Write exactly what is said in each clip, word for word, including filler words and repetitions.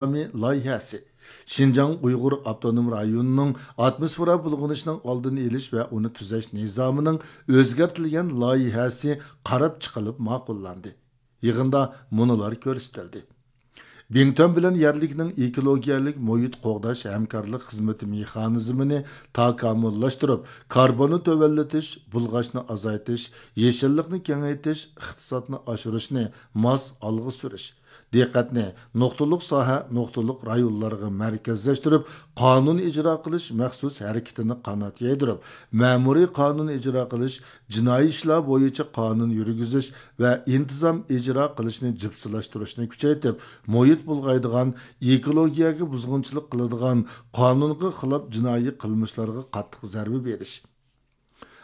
نىزامى لايىھەسى، شىنجاڭ ئۇيغۇر ئاپتونوم رايونىنىڭ ئاتموسفېرا بۇلغىنىشىنىڭ ئالدىنى ئېلىش ۋە ئۇنى تۈزەش نىزامىنىڭ ئۆزگەرتىلگەن لايىھەسى قاراپ چىقىلىپ ماقۇللاندى. يىغىندا مۇنۇلار كۆرسىتىلدى. بىڭتۈەن بىلەن يەرلىكنىڭ ئېكولوگىيەلىك مۇھىت قوغداش ھەمكارلىق خىزمىتى مېخانىزمىنى تاكامۇللاشتۇرۇپ، كاربوننى تۆۋەنلىتىش، بۇلغاشنى ئازايتىش، يېشىللىقنى كېڭەيتىش، ئىقتىسادنى ئاشۇرۇشنى ماس ئالغا سۈرۈش، دىققەتنى نۇقتىلىق ساھە، نۇقتىلىق رايونلارغا مەركەزلەشتۈرۈپ، قانۇن ئىجرا قىلىش مەخسۇس ھەرىكىتىنى قانات يايدۇرۇپ، مەمۇرىي قانۇن ئىجرا قىلىش، جىنايى ئىشلار بويىچە قانۇن يۈرگۈزۈش ۋە ئىنتىزام ئىجرا قىلىشنى جىپسىلاشتۇرۇشنى كۈچەيتىپ، مۇھىت بۇلغايدىغان، ئېكولوگىيەگە بۇزغۇنچىلىق قىلىدىغان، قانۇنغا خىلاپ جىنايى قىلمىشلارغا قاتتىق زەربە بېرىش،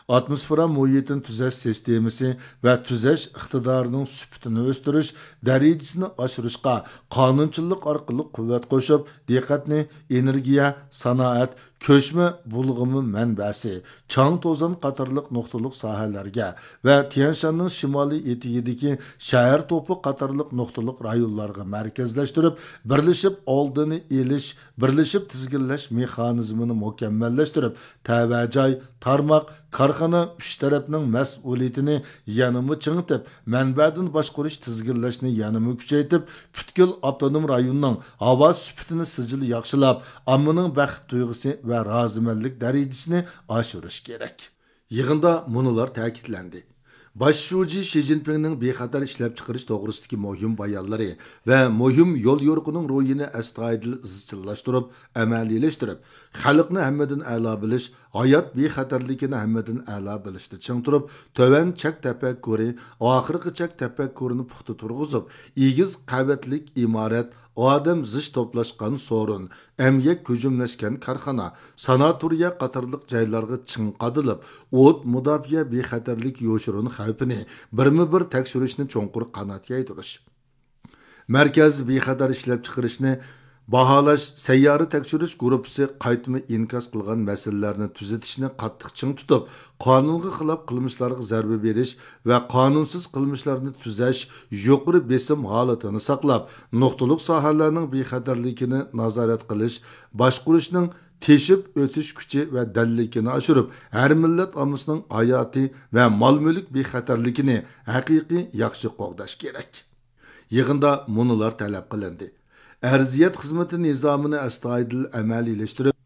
ئاتموسفېرا مۇھىتىنى تۈزەش سىستېمىسى ۋە تۈزەش ئىقتىدارىنىڭ سۈپىتىنى ئۆستۈرۈش، دەرىجىسىنى ئاشۇرۇشقا قانۇنچىلىق ئارقىلىق قۇۋۋەت قوشۇپ، دىققەتنى ئېنېرگىيە، سانائەت، كۆچمە بۇلغىما مەنبەسى، چاڭ توزان قاتارلىق نۇقتىلىق ساھەلەرگە ۋە تيەنشاننىڭ شىمالىي ئېتىكىدىكى شەھەر توپى قاتارلىق نۇقتىلىق رايونلارغا مەركەزلەشتۈرۈپ، بىرلىشىپ ئالدىنى ئېلىش، بىرلىشىپ تىزگىنلەش مېخانىزمىنى مۇكەممەللەشتۈرۈپ، تەۋە جاي، تارماق، كارخانا ئۈچ تەرەپنىڭ مەسئۇلىيىتىنى يەنىمۇ چىڭىتىپ، مەنبەدىن باشقۇرۇش تىزگىنلەشنى يەنىمۇ كۈچەيتىپ، پۈتكۈل ئاپتونوم رايوننىڭ ھاۋا سۈپىتىنى سىجىل ياخشىلاپ، ئاممىنىڭ بەخت تۇيغۇسى ۋە رازىمەنلىك دەرىجىسىنى ئاشۇرۇش كېرەك. يىغىندا مۇنۇلار تەكىتلەندى. باش شۇجى شى جىنپىڭنىڭ بىخەتەر ئىشلەپچىقىرىش توغرىسىدىكى مۇھىم بايانلىرى ۋە مۇھىم يوليورۇقىنىڭ روھىنى ئەستايىدىل ئىزچىللاشتۇرۇپ، ئەمەلىيلەشتۈرۈپ، خەلقنى ھەممىدىن ئەلا بىلىش، ھايات بىخەتەرلىكىنى ھەممىدىن ئەلا بىلىشتە چىڭ تۇرۇپ، تۆۋەن چەك تەپەككۇرى، ئاخىرقى چەك تەپەككۇرىنى پۇختا تۇرغۇزۇپ، ئېگىز قەۋەتلىك ئىمارەت، ئادەم زىچ توپلاشقان سورۇن، ئەمگەك كۆجۈملەشكەن كارخانا، ساناتورىيە قاتارلىق جايلارغا چىڭ قادىلىپ، ئوت مۇداپىئە بىخەتەرلىك يوشۇرۇن خەۋپىنى بىرمۇ بىر تەكشۈرۈشنى چوڭقۇر قانات يايدۇرۇش. مەركەز بىخەتەر ئىشلەپچىقىرىشنى باھالاش سەييارە تەكشۈرۈش گۇرۇپپىسى قايتما ئىنكاس قىلغان مەسىلىلەرنى تۈزىتىشنى قاتتىق چىڭ تۇتۇپ، قانۇنغا خىلاپ قىلمىشلارغا زەربە بېرىش ۋە قانۇنسىز قىلمىشلارنى تۈزەش يۇقىرى بېسىم ھالىتىنى ساقلاپ، نۇقتىلىق ساھەلەرنىڭ بىخەتەرلىكىنى نازارەت قىلىش، باشقۇرۇشنىڭ تېشىپ ئۆتۈش كۈچى ۋە دەللىكىنى ئاشۇرۇپ، ھەر مىللەت ئاممىسىنىڭ ھاياتى ۋە مال-مۈلۈك بىخەتەرلىكىنى ھەقىقىي ياخشى قوغداش كېرەك. يىغىندا مۇنۇلار تەلەپ قىلىندى: ئەرزىيەت خىزمىتى نىزامىنى ئەستايىدىل ئەمەلىيلەشتۈرۈپ،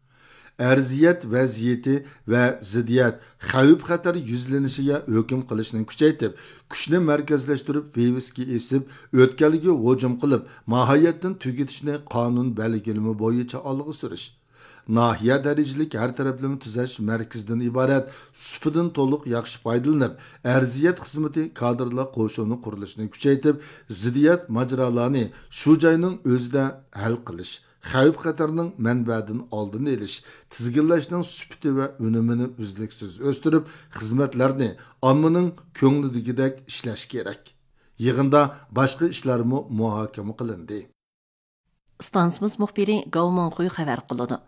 ئەرزىيەت ۋەزىيىتى ۋە زىددىيەت، خەۋپ-خەتەر يۈزلىنىشىگە ھۆكۈم قىلىشنى كۈچەيتىپ، كۈچنى مەركەزلەشتۈرۈپ، ۋىۋىسكا ئېسىپ، ئۆتكەلگە ھۇجۇم قىلىپ، ماھىيەتتىن تۈگىتىشنى قانۇن بەلگىلىمە بويىچە ئالغا سۈرۈش. ناھىيە دەرىجىلىك ھەر تەرەپلىمە تۈزەش مەركىزىدىن ئىبارەت سۇپىدىن تولۇق ياخشى پايدىلىنىپ، ئەرزىيەت خىزمىتى كادىرلار قوشۇنى قۇرۇلۇشىنى كۈچەيتىپ، زىددىيەت ماجىرالارنى شۇ جاينىڭ ئۆزىدە ھەل قىلىش، خەۋپ-خەتەرنىڭ مەنبەدىن ئالدىنى ئېلىش، تىزگىنلەشنىڭ سۈپىتى ۋە ئۈنۈمىنى ئۈزلۈكسىز ئۆستۈرۈپ، خىزمەتلەرنى ئاممىنىڭ كۆڭلىدىكىدەك ئىشلەش كېرەك. يىغىندا باشقا ئىشلارمۇ مۇھاكىمە قىلىندى. ئىستانسىمىز مۇخبىرى گاۋ مىڭخۇي خەۋەر قىلىدۇ.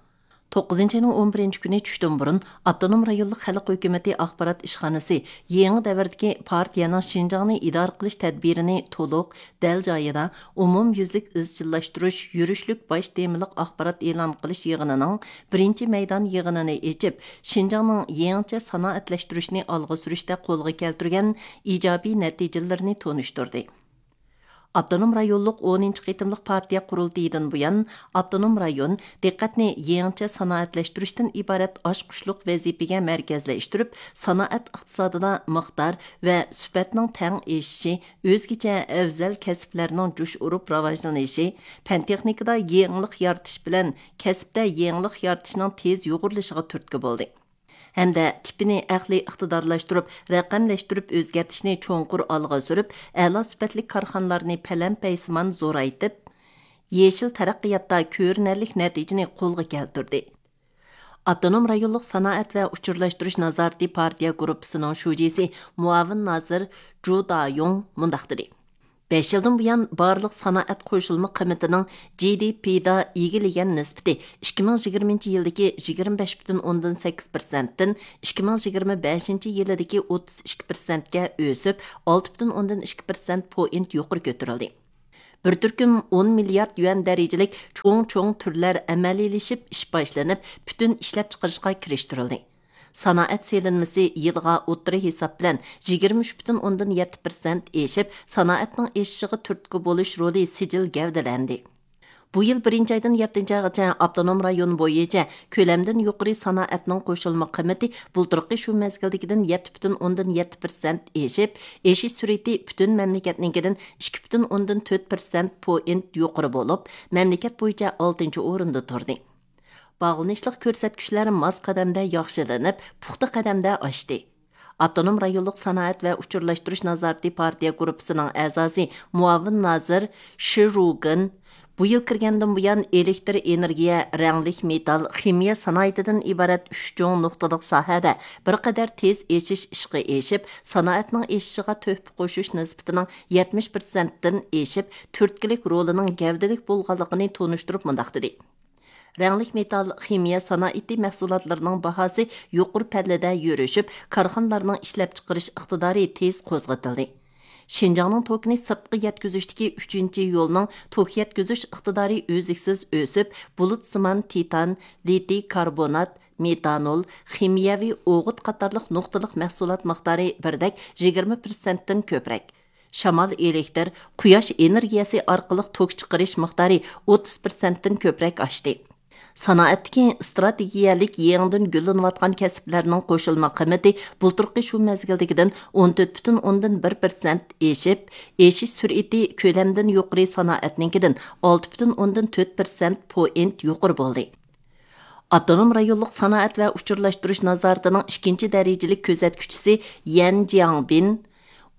توققۇزىنچى ئاينىڭ ئون بىرىنچى كۈنى چۈشتىن بۇرۇن، ئاپتونوم رايونلۇق خەلق ھۆكۈمىتى ئاخبارات ئىشخانىسى يېڭى دەۋردىكى پارتىيەنىڭ شىنجاڭنى ئىدارە قىلىش تەدبىرىنى تولۇق، دەل جايىدا، ئومۇميۈزلۈك ئىزچىللاشتۇرۇش يۈرۈشلۈك باش تېمىلىق ئاخبارات ئېلان قىلىش يىغىنىنىڭ بىرىنچى مەيدان يىغىنىنى ئېچىپ، شىنجاڭنىڭ يېڭىچە سانائەتلەشتۈرۈشنى ئالغا سۈرۈشتە قولغا كەلتۈرگەن ئىجابىي نەتىجىلىرىنى تونۇشتۇردى. ئاپتونوم رايونلۇق ئونىنچى قېتىملىق پارتىيە قۇرۇلتىيىدىن بۇيان، ئاپتونوم رايون دىققەتنى يېڭىچە سانائەتلەشتۈرۈشتىن ئىبارەت ئاچقۇچلۇق ۋەزىپىگە مەركەزلەشتۈرۈپ، سانائەت ئىقتىسادىدا مىقدار ۋە سۈپەتنىڭ تەڭ ئېشىشى، ئۆزگىچە ئەۋزەل كەسىپلەرنىڭ جۇش ئۇرۇپ راۋاجلىنىشى، پەن-تېخنىكىدا يېڭىلىق يارىتىش بىلەن كەسىپتە يېڭىلىق يارىتىشنىڭ تېز يۇغۇرۇلۇشىغا تۈرتكە بولدى. ھەمدە تىپىنى ئەقلىي ئىقتىدارلاشتۇرۇپ، رەقەملەشتۈرۈپ ئۆزگەرتىشنى چوڭقۇر ئالغا سۈرۈپ، ئەلا سۈپەتلىك كارخانىلارنى پەلەمپەيسىمان زورايتىپ، يېشىل تەرەققىياتتا كۆرۈنەرلىك نەتىجىنى قولغا كەلتۈردى. ئاپتونوم رايونلۇق سانائەت ۋە ئۇچۇرلاشتۇرۇش نازارىتى پارتىيە گۇرۇپپىسىنىڭ شۇجىسى، مۇئاۋىن نازىر جۇ دايۇڭ مۇنداق دېدى: بەش يىلدىن بۇيان، بارلىق سانائەت قوشۇلما قىممىتىنىڭ جى دى پىدا ئىگىلىگەن نىسبىتى ئىككى مىڭ يىگىرمىنچى يىلدىكى يىگىرمە بەش پۈتۈن ئوندىن سەككىز پىرسەنتتىن ئىككى مىڭ يىگىرمە بەشىنچى يىلىدىكى ئوتتۇز ئىككى پىرسەنتكە ئۆسۈپ، ئالتە پۈتۈن ئوندىن ئىككى پىرسەنت پوينت يۇقىرى كۆتۈرۈلدى. بىر تۈركۈم ئون مىليارد يۈەن دەرىجىلىك چوڭ-چوڭ تۈرلەر ئەمەلىيلىشىپ، ئىش باشلىنىپ، پۈتۈن ئىشلەپچىقىرىشقا كىرىشتۈرۈلدى. سانائەت سېلىنمىسى يىلغا ئوتتۇرا ھېساب بىلەن يىگىرمە ئۈچ پۈتۈن ئوندىن يەتتە پىرسەنت ئېشىپ، سانائەتنىڭ ئېشىشىغا تۈرتكە بولۇش رولى سىجىل گەۋدىلەندى. بۇ يىل بىرىنچى ئايدىن يەتتىنچى ئايغىچە ئاپتونوم رايون بويىچە كۆلەمدىن يۇقىرى سانائەتنىڭ قوشۇلما قىممىتى بۇلتۇرقى شۇ مەزگىلدىكىدىن يەتتە پۈتۈن ئوندىن يەتتە پىرسەنت ئېشىپ، ئېشىش سۈرئىتى پۈتۈن مەملىكەتنىڭكىدىن ئىككى پۈتۈن ئوندىن تۆت پىرسەنت پوينت يۇقىرى بولۇپ، مەملىكەت بويىچە ئالتىنچى ئورۇندا تۇردى. باغلىنىشلىق كۆرسەتكۈچلەر ماس قەدەمدە ياخشىلىنىپ، پۇختا قەدەمدە ئاشتى. ئاپتونوم رايونلۇق سانائەت ۋە ئۇچۇرلاشتۇرۇش نازارىتى پارتىيە گۇرۇپپىسىنىڭ ئەزاسى، مۇئاۋىن نازىر شى رۇگېن بۇ يىل كىرگەندىن بۇيان، ئېلېكتر ئېنېرگىيە، رەڭلىك مېتال، خىمىيە سانائىتىدىن ئىبارەت ئۈچ چوڭ نۇقتىلىق ساھەدە بىر قەدەر تېز ئېشىش ئىشقا ئېشىپ، سانائەتنىڭ ئېشىشىغا تۆھپە قوشۇش نىسبىتىنىڭ يەتمىش پىرسەنتتىن ئېشىپ، تۈرتكىلىك رولىنىڭ گەۋدىلىك بولغانلىقىنى تونۇشتۇرۇپ مۇنداق دېدى: رەڭلىك مېتال، خىمىيە سانائىتى مەھسۇلاتلىرىنىڭ باھاسى يۇقىرى پەللىدە يۈرۈشۈپ، كارخانىلارنىڭ ئىشلەپچىقىرىش ئىقتىدارى تېز قوزغىتىلدى. شىنجاڭنىڭ توكىنى سىرتقا يەتكۈزۈشتىكى ئۈچىنچى يولنىڭ توك يەتكۈزۈش ئىقتىدارى ئۈزلۈكسىز ئۆسۈپ، بۇلۇتسىمان تىتان، لىتىي كاربونات، مېتانول، خىمىيەۋى ئوغۇت قاتارلىق نۇقتىلىق مەھسۇلات مىقدارى بىردەك يىگىرمە پىرسەنتتىن كۆپرەك. شامال ئېلېكتر، قۇياش ئېنېرگىيەسى ئارقىلىق توك چىقىرىش مىقدارى ئوتتۇز پىرسەنتتىن كۆپرەك ئاشتى. سانائەتتىكى ئىستراتېگىيەلىك يېڭىدىن گۈللىنىۋاتقان كەسىپلەرنىڭ قوشۇلما قىممىتى بۇلتۇرقى شۇ مەزگىلدىكىدىن ئون تۆت پۈتۈن ئوندىن بىر پىرسەنت ئېشىپ، ئېشىش سۈرئىتى كۆلەمدىن يۇقىرى سانائەتنىڭكىدىن ئالتە پۈتۈن ئوندىن تۆت پىرسەنت پوينت يۇقىرى بولدى. ئاپتونوم رايونلۇق سانائەت ۋە ئۇچۇرلاشتۇرۇش نازارىتىنىڭ ئىككىنچى دەرىجىلىك كۆزەتكۈچىسى يەن جياڭبىن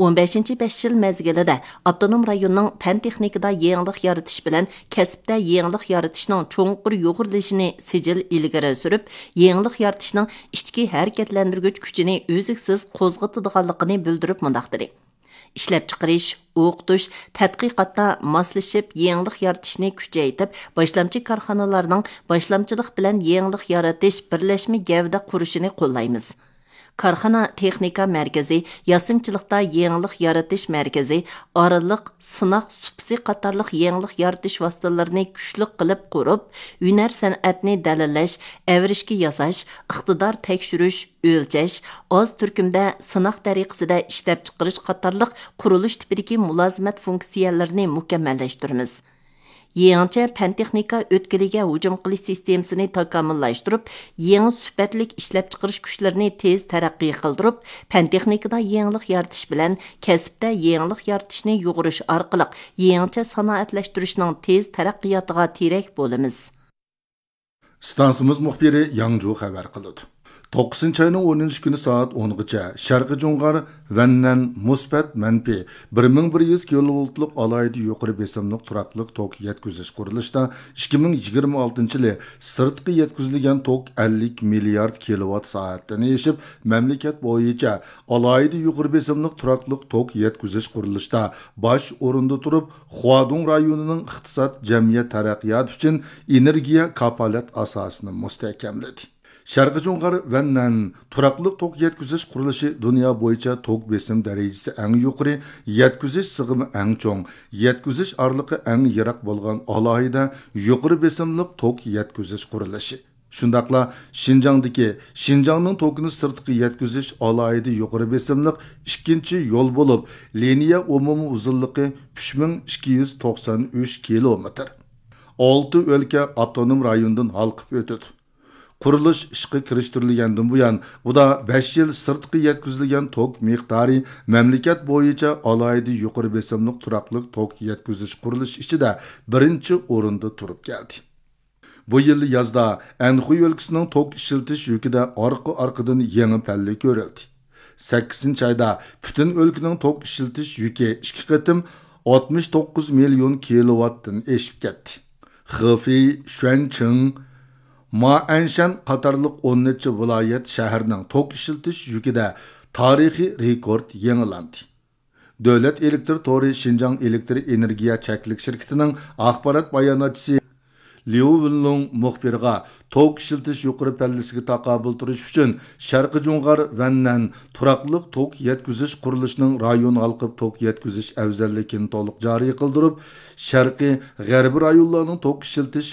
ئون بەشىنچى بەش يىل مەزگىلىدە ئاپتونوم رايوننىڭ پەن تېخنىكىدا يېڭىلىق يارىتىش بىلەن كەسىپتە يېڭىلىق يارىتىشنىڭ چوڭقۇر يۇغۇرۇلۇشىنى سىجىل ئىلگىرى سۈرۈپ، يېڭىلىق يارىتىشنىڭ ئىچكى ھەرىكەتلەندۈرگۈچ كۈچىنى ئۈزلۈكسىز قوزغىتىدىغانلىقىنى بىلدۈرۈپ مۇنداق دېدى: ئىشلەپچىقىرىش، ئوقۇتۇش، تەتقىقاتتا ماسلىشىپ يېڭىلىق يارىتىشنى كۈچەيتىپ، باشلامچى كارخانىلارنىڭ باشلامچىلىق بىلەن يېڭىلىق يارىتىش بىرلەشمە گەۋدە قۇرۇشىنى قوللايمىز. كارخانا تېخنىكا مەركىزى، ياسىمىچىلىقتا يېڭىلىق يارىتىش مەركىزى، ئارىلىق سىناق سۇپىسى قاتارلىق يېڭىلىق يارىتىش ۋاسىتىلىرىنى كۈچلۈك قىلىپ قۇرۇپ، ھۈنەر سەنئەتنى دەلىللەش، ئەۋرىشكە ياساش، ئىقتىدار تەكشۈرۈش، ئۆلچەش، ئاز تۈركۈمدە سىناق تەرىقىسىدە ئىشلەپچىقىرىش قاتارلىق قۇرۇلۇش تىپىدىكى مۇلازىمەت فۇنكسىيەلىرىنى مۇكەممەللەشتۈرىمىز. يېڭىچە پەن-تېخنىكا ئۆتكىلىگە ھۇجۇم قىلىش سىستېمىسىنى تاكامۇللاشتۇرۇپ، يېڭى سۈپەتلىك ئىشلەپچىقىرىش كۈچلىرىنى تېز تەرەققىي قىلدۇرۇپ، پەن-تېخنىكىدا يېڭىلىق يارىتىش بىلەن كەسىپتە يېڭىلىق يارىتىشنى يۇغۇرۇش ئارقىلىق، يېڭىچە سانائەتلەشتۈرۈشنىڭ تېز تەرەققىياتىغا تىرەك بولىمىز. ئىستانسىمىز مۇخبىرى ياڭجۇ خەۋەر قىلىدۇ. توققۇزىنچى ئاينىڭ ئونىنچى كۈنى سائەت ئونغىچە شەرقىي جۇڭغار ۋەننەن مۇسبەت مەنپىي بىر مىڭ بىر يۈز كىلوۋولتلۇق ئالاھىدە يۇقىرى بېسىملىق تۇراقلىق توك يەتكۈزۈش قۇرۇلۇشىدا ئىككى مىڭ يىگىرمە ئالتىنچى يىلى سىرتقا يەتكۈزۈلگەن توك ئەللىك مىليارد كىلوۋات سائەتتىن ئېشىپ، مەملىكەت بويىچە ئالاھىدە يۇقىرى بېسىملىق تۇراقلىق توك يەتكۈزۈش قۇرۇلۇشىدا باش ئورۇندا تۇرۇپ، خۇادۇڭ رايونىنىڭ ئىقتىساد، جەمئىيەت تەرەققىياتى ئۈچۈن ئېنېرگىيە كاپالەت ئاساسىنى مۇستەھكەملىدى. شەرقىي جۇڭغار ۋەننەن تۇراقلىق توك يەتكۈزۈش قۇرۇلۇشى دۇنيا بويىچە توك بېسىم دەرىجىسى ئەڭ يۇقىرى، يەتكۈزۈش سىغىمى ئەڭ چوڭ، يەتكۈزۈش ئارىلىقى ئەڭ يىراق بولغان ئالاھىدە يۇقىرى بېسىملىق توك يەتكۈزۈش قۇرۇلۇشى. شۇنداقلا شىنجاڭدىكى شىنجاڭنىڭ توكىنى سىرتقا يەتكۈزۈش ئالاھىدە يۇقىرى بېسىملىق ئىككىنچى يول بولۇپ، لىنىيە ئومۇمىي ئۇزۇنلۇقى ئۈچ مىڭ ئىككى يۈز توقسان ئۈچ كىلومېتىر. ئالتە ئۆلكە ئاپتونوم رايوندىن ھالقىپ ئۆتىدۇ. قۇرۇلۇش ئىشقا كىرىشتۈرۈلگەندىن بۇيان، ئۇدا بەش يىل سىرتقا يەتكۈزۈلگەن توك مىقدارى مەملىكەت بويىچە ئالاھىدە يۇقىرى بېسىملىق تۇراقلىق توك يەتكۈزۈش قۇرۇلۇشى ئىچىدە بىرىنچى ئورۇندا تۇرۇپ كەلدى. بۇ يىل يازدا ئەنخۇي ئۆلكىسىنىڭ توك ئىشلىتىش يۈكىدە ئارقا-ئارقىدىن يېڭى پەللە كۆرۈلدى. سەككىزىنچى ئايدا پۈتۈن ئۆلكىنىڭ توك ئىشلىتىش يۈكى ئىككى قېتىم ئاتمىش توققۇز مىليون كىلوۋاتتىن ئېشىپ كەتتى. خېفېي، شۈەنچىڭ، مائەنشەن قاتارلىق ئون نەچچە ۋىلايەت، شەھەرنىڭ توك ئىشلىتىش يۈكىدە تارىخىي رېكورت يېڭىلاندى. دۆلەت ئېلېكتر تورى شىنجاڭ ئېلېكتر ئېنېرگىيە چەكلىك شىركىتىنىڭ ئاخبارات باياناتچىسى ليۇ ۋېنلۇڭ مۇخبىرغا توك ئىشلىتىش يۇقىرى پەللىسىگە تاقابىل تۇرۇش ئۈچۈن شەرقىي جۇڭغار ۋەننەن تۇراقلىق توك يەتكۈزۈش قۇرۇلۇشىنىڭ رايون ھالقىپ توك يەتكۈزۈش ئەۋزەللىكىنى تولۇق جارى قىلدۇرۇپ، شەرقىي، غەربىي رايونلارنىڭ توك ئىشلىتىش